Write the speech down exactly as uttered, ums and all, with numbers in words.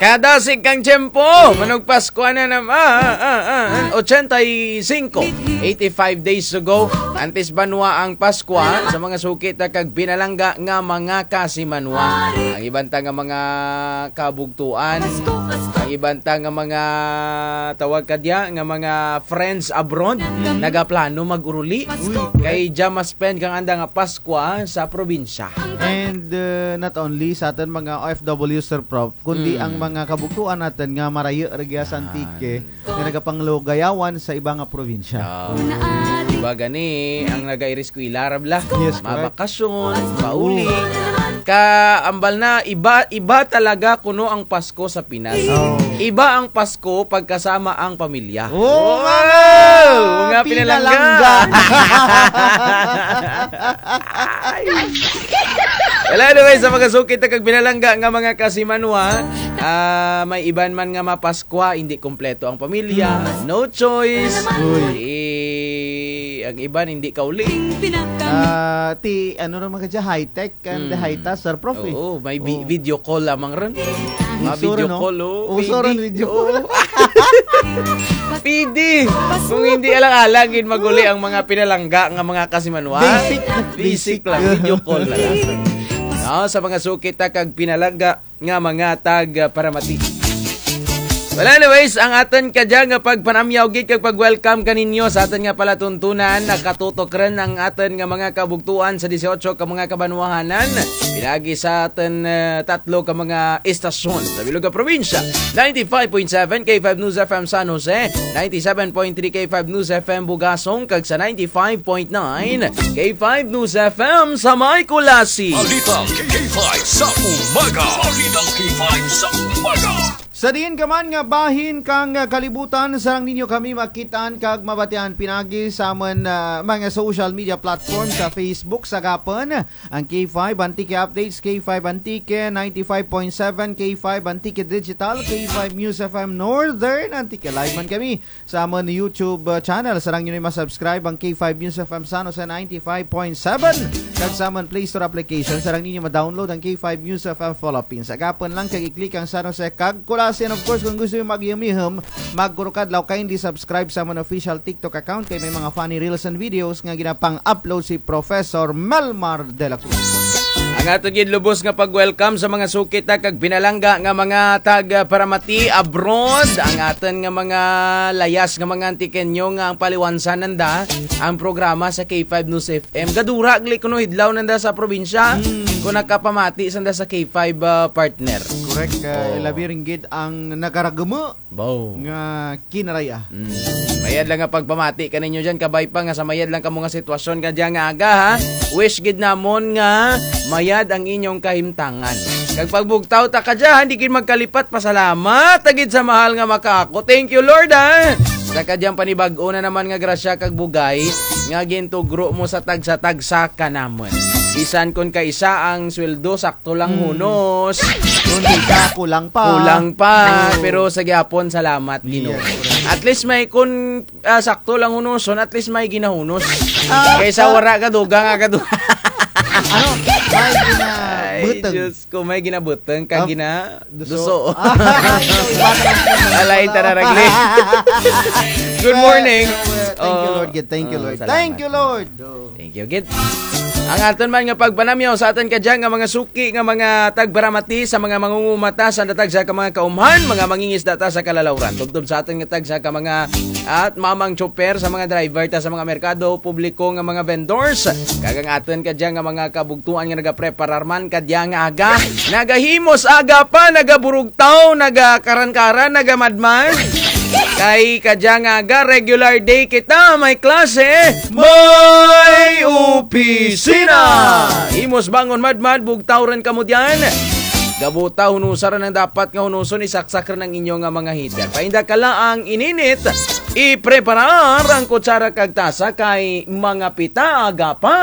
Kadasig kang tiyempo, manugpaskwa na nam-, ah, ah, ah, ah, ochenta y cinco, eighty-five days to go. Antes banwa ang Paskwa, sa mga suki ta kag pinalangga nga mga kasimanwa. Ang iban ta nga mga kabugtuan, ang iban ta nga mga tawag kadya, nga mga friends abroad, nagaplano mag-uruli. Kay dya ma-spend kang anda nga Paskwa sa probinsya. And, uh, not only sa atun mga O F W, Sir Prof, kundi ang mga kabugtuan natun nga marayu rugya sa Antique, nga nagapanglugayawan sa iba nga probinsya. Ah, iba gani ang nagairiskwela ra bala. Yes, correct. Mabakasyon, mauli. Ka, ambal na, iba, iba talaga kuno ang Pasko sa Pinas. Oh. Iba ang Pasko pagkasama ang pamilya. Oh, wow! Mga pinalangga. Pinalangga. Wala, anyway, sa mga suki ta kag pinalangga nga mga kasimanwa, ah, may iban man nga mapaskwa, hindi kompleto ang pamilya, no choice. Uy. Eh, ang iban hindi kauli. Ah, ti, ano ra man kadya, high-tech and high-tech, Sir Prof, eh. Oo, may vi-, video call lamang run. Mga video call, oh. Uso run, video call. Pwede. Kung hindi alang-alang gid mag-uli ang mga pinalangga nga mga kasimanwa. Basic. Basic lang, video call na lang. No, sa mga suki ta kag pinalangga nga mga tagparamati. Well, anyways, ang atun kadya nga pagpanamyaw gid kag pag-welcome kaninyo sa atun nga palatuntunan, nakatutok run ang atun nga mga kabugtuan sa disiotso ka mga kabanwahanan, pinaagi sa atun, eh, tatlo ka mga estasyon sa bilog nga probinsya. Ninety-five point seven K five News F M San Jose, ninety-seven point three K five News F M Bugasong, kag sa ninety-five point nine K five News F M sa may Culasi. Balitang K five sa umaga. Balitang K five sa umaga. Sa diin ka man nga bahin kang kalibutan, sarang ninyo kami makit-an kag mabatian pinaagi sa amun, ah, mga social media platform sa Facebook, sa gihapon ang K five Antique Updates, K five Antique ninety-five point seven, K five Antique Digital, K five News F M Northern Antique. Live man kami sa amun YouTube, uh, channel. Sarang ninyo ma-subscribe ang K five News F M San Jose ninety-five point seven. Kag sa amun Play Store application, sarang ninyo ma-download ang K five News F M Philippines. Agapun lang kag i-click ang San Jose kag Culasi. And of course, kung gusto ninyo mag-ihum-ihum, magkurukadlaw, kindly subscribe sa amun official TikTok account kay may mga funny reels and videos nga ginapang-upload si Professor Melmar de la Cruz. Ang atun gid lubos nga pag-welcome sa mga suki ta kag pinalangga nga mga tagparamati abroad. Ang atun nga mga layas nga mga Antiqueño nga ang paliwansa nanda ang programa sa K five News F M. Gadura gali kuno hidlaw nanda sa probinsya. Hmm. Kon nakapamati sanda sa K five, ah, partner. Correct, ah, labi run gid ang nagaraguma. Baw. Nga kinaraya. Mm. Mayad lang nga pagpamati kaninyo dyan, kabay pa nga sa mayad lang kamo nga sitwasyon kadya nga aga, ha. Wish gid namon nga mayad ang inyong kahimtangan. Kag pagbugtaw ta kadya, ha, di gid magkalipat, pasalamat ta gid sa mahal nga makaako. Thank you, Lord, ha. Sa kadyang panibag-o na naman nga grasya kag bugay nga gintugro mo sa tagsa-tagsa kanamon. Bisan kon kaisa ang sweldo, sakto lang hunos. Kon di ka, kulang pa. Kulang pa. Oo. Pero sa gihapon, salamat, Ginoo. Yes, correct. At least may kon, ah, sakto lang hunoson, at least may ginahunos. Ah, kaysa ah. Wara ka, dugang ka, du- Ano? May ginabutang. Ay, Diyos ko, may ginabutang ka, gina- Duso. Duso. Ah, iba na lang. Alay, tara, ragli. Good morning. Thank you, Lord. Thank you, Lord. Thank you, Lord. Thank you, gid. Ang atun man nga pagpanamyaw sa atun kadya nga mga suki nga mga tagparamati sa mga mangungumata sa tagsa ka mga kaumhan, mga mangingisda ta sa kalalawran. Tubtob sa atun nga tagsa ka mga at mamang tsoper, sa mga driver ta sa mga merkado, publiko nga mga vendors. Kag ang atun kadya nga mga kabugtuan nga nagapreparar man kadya nga aga. Nagahimos aga pa, nagaburugtaw, nagakaran-karan, nagamadmad. Kay kadya nga aga, regular day kita, may klase, may opisina. Himos bangon madmad, bugtaw run kamo dyan. Gabuta, hunusa run ang dapat nga hunuson, isaksak run ang inyo nga mga heater. Painda ka laang ininit, ipreparar ang kutsara kag tasa kay mga pita aga pa.